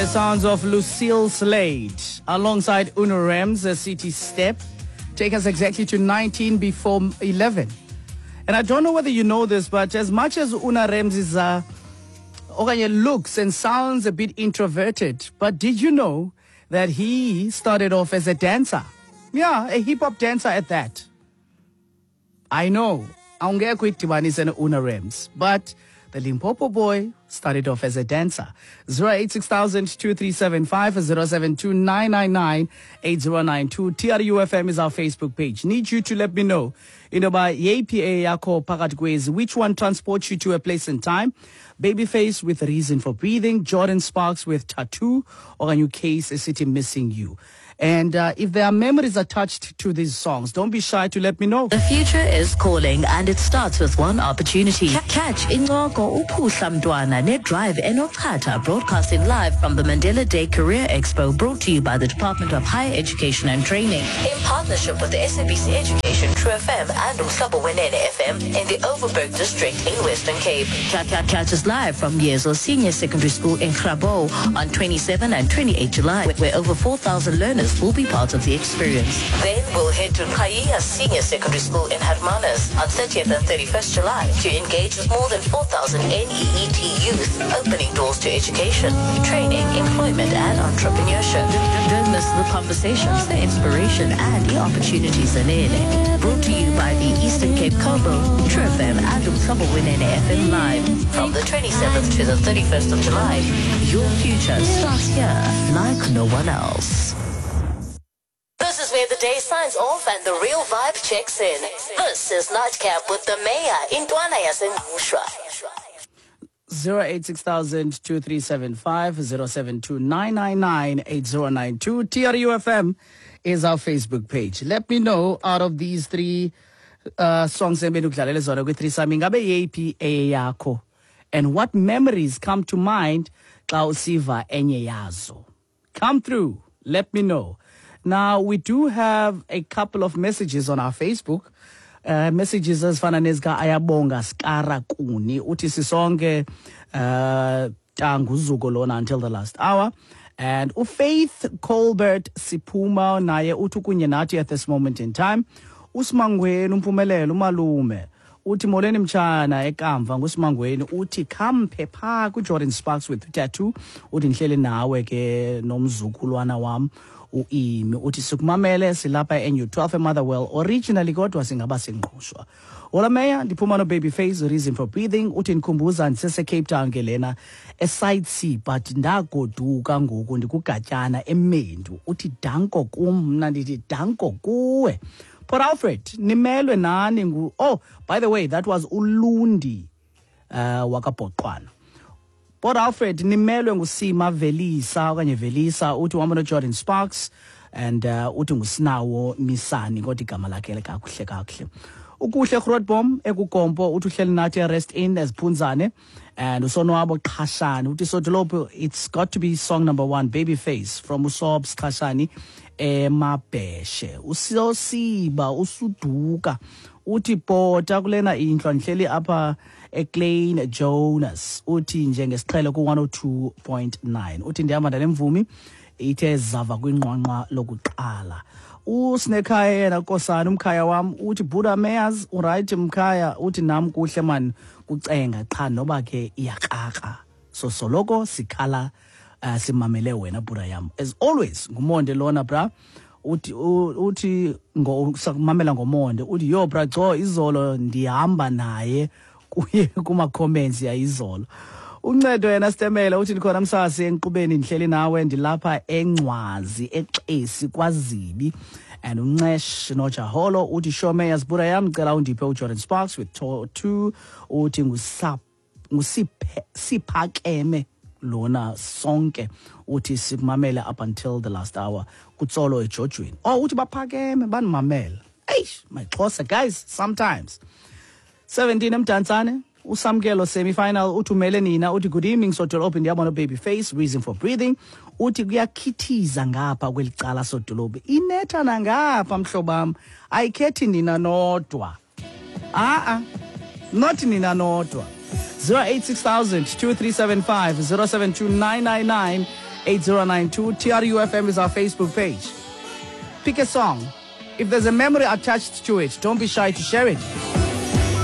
The sounds of Lucille Slade alongside Uno Rams, a City Step, take us exactly to 19 before 11. And I don't know whether you know this, but as much as Una Rams is okanye looks and sounds a bit introverted, but did you know that he started off as a dancer? Yeah, a hip hop dancer at that. I know, awungekho uyidibanise no-Una Rams, but the Limpopo boy started off as a dancer. 086 2375 072 8092. TRUFM is our Facebook page. Need you to let me know into yoba yeyiphi eyakho phakathi kwezi, which one transports you to a place and time. Babyface with Reason for Breathing, Jordan Sparks with Tattoo, okanye uCase esithi Missing You. And if there are memories attached to these songs, don't be shy to let me know. The future is calling and it starts with one opportunity. Catch Incoko Uphuhla Mntwana ne-Drive Enochatha, broadcasting live from the Mandela Day Career Expo, brought to you by the Department of Higher Education and Training in partnership with the SABC Education, True FM and Umhlobo Wenene FM in the Overberg District in Western Cape. Catch us live from Yezo Senior Secondary School in Grabouw on 27 and 28 July, where over 4,000 learners will be part of the experience. Then we'll head to Qhayiya Senior Secondary School in Hermanus on 30th and 31st July to engage with more than 4,000 NEET youth, opening doors to education, training, employment and entrepreneurship. Don't miss the conversations, the inspiration and the opportunities in it. Brought to you by the Eastern Cape Combo, True FM and Umhlobo Wenene FM Live. From the 27th to the 31st of July, your future starts here like no one else. This is where the day signs off and the real vibe checks in. This is Nightcap with the Mayor, Intwana yaseNgqushwa. 086 2375 072 999 8092. TRUFM is our Facebook page. Let me know, out of these three songs ebendikudlalele zona kwi-threesome, ingabe yeyiphi eyeyakho and what memories come to mind xa usiva enye yazo? Come through, let me know. Now, we do have a couple of messages on our Facebook. Messages ezifana nezika Ayabonga Skara Kuni, uthi sisonke tanguzuko lona until the last hour. And uFaith Colbert Siphuma naye uthi kunye nathi at this moment in time. Usimangweni uMpumelelo umalume uthi molweni mtshana ekamva, nguSimangweni, uthi khamphe phaa kuJordan Sparks with Tattoo. Uthi ndihleli nawe ke nomzukulwana wam uImi, uthi sikumamele silapha eNU 12 eMotherwell originally, kodwa singaba singqushwa. Hola Meya, ndiphuma no-Babyface, Reason for Breathing. Uthi ndikhumbuza ndisese-Cape Town ke lena eSite C, but ndagoduka ngoku ndikugatyana eMendu. Uthi danko kum, mna ndithi danko kuwe. Port Alfred nimelwe nani ngu. Oh, by the way, that was uLundi wakaBhoqwana. Port Alfred nimelwe nguSima Velisa okanye Velisa, uthi uhamba noJordan Sparks and uthi ngusinawo Misani, kodwa igama lakhe kakuhle kakuhle. Ukuhle Grootbom ekuGompo uthi uhleli nathi eRest Inn eziphunzane. And uSonwabo Qhashani uthi sodolophu, it's got to be song number 1, Babyface, from uSobs Qhashani eMabheshe. Usosiba usuduka uthi bhota kulena indlu, ndihleli apha eKlein Jonas. Uthi njengesiqhelo ku-102.9, uthi ndihamba nale mvumi ithe zava kwinqwanqwa lokuqala. Usinekhaya yena nkosana umkhaya wam uthi buda mayors, uright mkhaya? Uthi nam kuhle man, kucenga qha noba ke iyakrakra, so soloko sikhala simamele wena buda yam as always. Ngumonde lona bra, uthi sakumamela ngomonde. Uthi yo bra cho, izolo ndihamba naye kuye kuma-comments yayizolo. Uncedo yena Sitemela uthi ndikhona msasi enkqubeni, ndihleli nawe, ndilapha eNcwazi eXesi kwaZibi. And uNcesh Nojaholo uthi shome yazibura yam, cela undiphe uJordan Sparks with two. Uthi ngusiphakeme lona sonke, uthi sikumamele up until the last hour kutsolo ejojweni. Oh, uthi baphakeme banimamela. Eish, my Xhosa guys sometimes. 17 eMdantsane uSamkelo semi-final uthi umele nina. Uthi good evening sodolophu, ndiyabona Babyface, Reason for Breathing. Uthi kuyakhithiza ngapha kweli cala sodolophu, inetha nangapha mhlobam, ayikhethi nina nodwa, a-a, not nina nodwa. 086 2375 072 999 8092. TRUFM is our Facebook page. Pick a song. If there's a memory attached to it, don't be shy to share it.